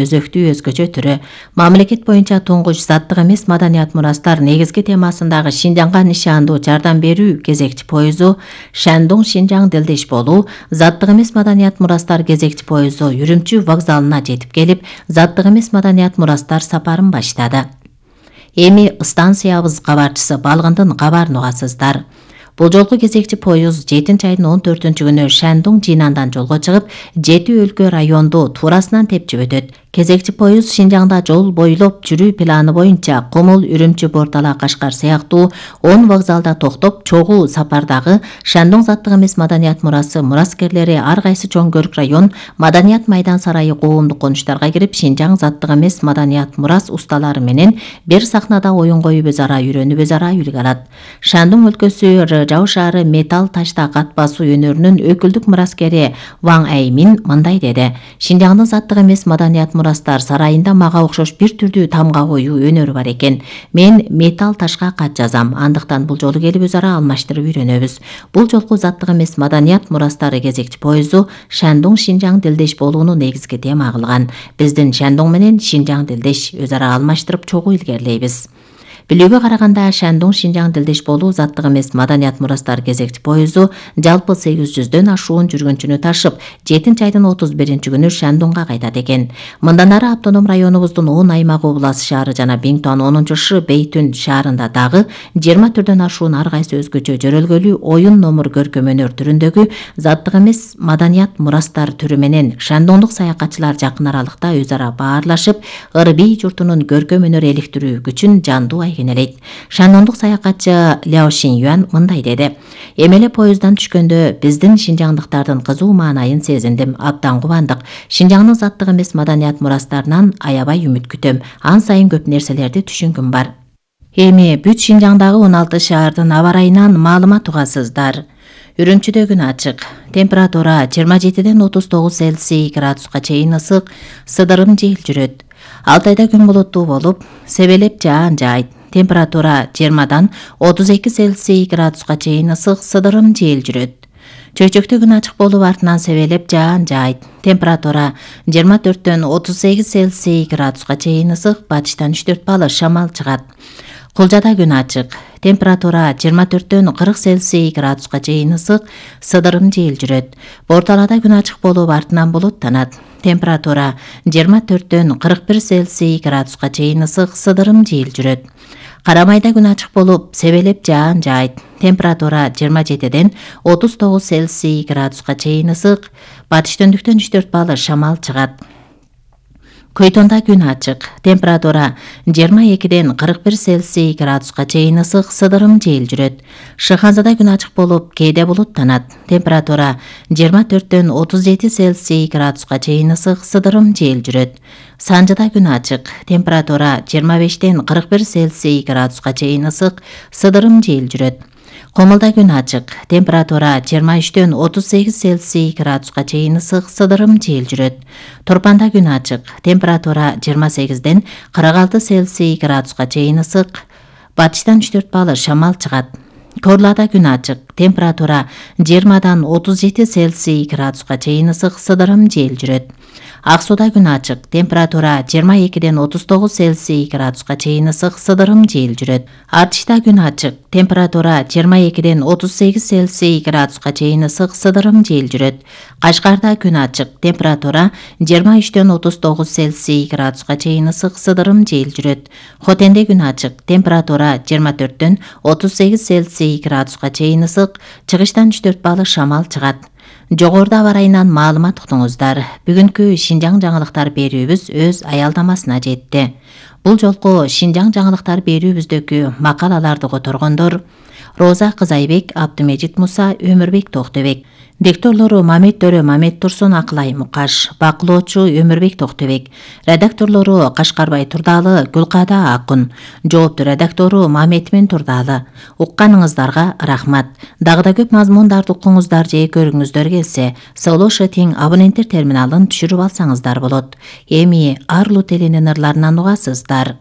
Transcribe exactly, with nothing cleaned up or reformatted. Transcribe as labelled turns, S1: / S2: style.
S1: өзөктүү өзгөчө түрү. Мамлекет боюнча туңгуч заттык эмес маданият мурастар негизги темасындагы Шинжаңга нишандуу жардам берүү кезекчи поезу Шандong Шинжаң Делдеш болуу заттык эмес маданият мурастар кезекчи поезу Үрүмчү вокзалына жетип келип, заттык эмес маданият мурастар сапарын баштады. Эми станциябыз кабарчысы балгындын кабарын угасыздар. Бул жолку кезекчи поезд жетинчи айдын он төртүнчү күнү Шандong Жинандан жолго чыгып, жети өлкө районду туурасынан тепчип өтөт. Кезекчи поезд Шинжаңда жол бойлоп жүрүү планы боюнча Кумул, Үрүмчү, Бортала, Кашкар сыяктуу он вокзалда токтоп, чогуу сапардагы Шандong заттык эмес маданият мурасы мураскерлери ар кайсы чоң көрк район Маданият майдан сарайы коомдук конуштарга кирип, Шинжаң заттык эмес маданият мурас усталары менен бир сахнада оюн коюп өз ара үйрөнүп өз ара үлгү алат. Шандong өлкөсү Жау шаары металл ташта кат басуу өнөрүнүн өкүлдүк мураскери Ваң Аймин мындай деди: Шинжаңдын заттык эмес маданият мурастар сарайында мага окшош бир түрдүү тамга коюу өнөрү бар экен. Мен металл ташка кат жазам, андыктан бул жолу келип өз ара алмаштырып үйрөнөбүз. Бул жолку заттык эмес маданият мурастары кезекчи поезу Шандong Шинжаң Делдеш болууну негизги тема кылган. Биздин Шандong менен Шинжаң Делдеш өз ара алмаштырып чогуу илгерилейбиз. Билүүгө караганда Шандong Шинжаң Делдеш болуу заттык эмес маданият мурастар кезекчи поезу жалпы сегиз жүздөн ашуун жүргүнчүнү ташып, жетинчи айдын отуз биринчи күнү Шандоңго кайтат экен. Мындан ары автоном районубуздун он аймагы Облас шаары жана Биңтуан онунчу Ш Бейтүн шаарында дагы жыйырма түрдөн ашуун ар кайсы өзгөчө жөрөлгөлүү оюн номур көркөм өнөр түрүндөгү заттык эмес маданият мурастар түрү менен шандоңдук саякатчылар жакын аралыкта өз ара баарлашып, Ырбий журтунун көркөм өнөр эликтирүү күчүн жандуу айгинелейт. Шандоңдук саякатчы Ляо Шинюан мындай деди: Эмеле поезддан түшкөндө биздин шинжаңдыктардын кызуу маанайын сезиндим, абдан кубандык. Шинжаңдын заттык эмес маданият мурастарынан аябай үмүт күтөм. Ан сайын көп нерселерди түшүнгүм бар. Эми бүт Шинжаңдагы он алты шаардын аба ырайынан маалымат угасыздар. Үрүмчүдө күн ачык. Температура жыйырма жетиден отуз тогуз Цельсий градуска чейин ысык, сыдырым жел жүрөт. Алтайда күн булуттуу болуп, себелеп жаан жаайт. Температура жыйырмадан отуз эки Цельсий градуска чейин ысык, сыдырым жел жүрөт. Чөйчөктө күн ачык болуп, артынан себелеп жаан жаайт. Температура жыйырма төрттөн отуз сегиз Цельсий градуска чейин ысык, батыштан үч төрт балл шамал чыгат. Кулжада күн ачык. Температура жыйырма төрттөн кырк Цельсий градуска чейин ысык, сыдырым жел жүрөт. Борталада күн ачык болуп, артынан булуттанат. Температура жыйырма төрттөн кырк бир Цельсий градуска чейин ысык, сыдырым жел жүрөт. Карамайда күн ачык болуп, себелеп жаан жаайт. Температура жыйырма жетиден отуз тогуз Цельсий градуска чейин ысык, батыш төндүктөн үч төрт балл шамал чыгат. Көйтонда күн ачык. Температура жыйырма экиден кырк бир Цельсий градуска чейин ысык, сыдырым жел жүрөт. Шыханзада күн ачык болуп, кээде булуттанат. Температура жыйырма төрттөн отуз жети Цельсий градуска чейин ысык, сыдырым жел жүрөт. Санжыда күн ачык. Температура жыйырма бештен кырк бир Цельсий градуска чейин ысык, сыдырым жел жүрөт. Комулда күн ачык. Температура жыйырма үчтөн отуз сегиз Цельсий градуска чейин ысык, сыдырым жел жүрөт. Торпанда күн ачык. Температура жыйырма сегизден кырк алты Цельсий градуска чейин ысык, батыштан үч төрт балл шамал чыгат. Корлада күн ачык. Температура жыйырмадан отуз жети Цельсий градуска чейин ысык, сыдырым жел жүрөт. Ак сууда күн ачык. Температура жыйырма экиден отуз тогуз Цельсий градуска чейин ысык, сыдырым жел жүрөт. Артышта күн ачык. Температура жыйырма экиден отуз сегиз Цельсий градуска чейин ысык, сыдырым жел жүрөт. Кашкарда күн ачык. Температура жыйырма үчтөн отуз тогуз Цельсий градуска чейин ысык, сыдырым жел жүрөт. Хотенде күн ачык. Температура жыйырма төрттөн отуз сегиз Цельсий градуска чейин ысык, чыгыштан үч төрт балл шамал чыгат. Жогоруда аба ырайынан маалымат уктуңуздар. Бүгүнкү Шинжаң жаңылыктар берүүбүз өз аялдамасына жетти. Бул жолку Шинжаң жаңылыктар берүүбүздөгү макалаларды которгондор Роза Кызайбек, Абдымежит Муса, Өмүрбек Токтобек. Дикторлору Мамет Төрө, Мамет Турсун, Акылай Мукаш. Бакылоочу Өмүрбек Токтобек. Редакторлору Кашкарбай Турдалы, Гүлкада Акун. Жооптуу редактору Мамет Турдалы. Укканыңыздарга рахмат. Дагы да көп мазмундарды укуңуздар же көрүңүздөр келсе, Соолошетиң абоненттер терминалын түшүрүп алсаңыздар болот. Эми Арлу теленин ырларынан угасыздар.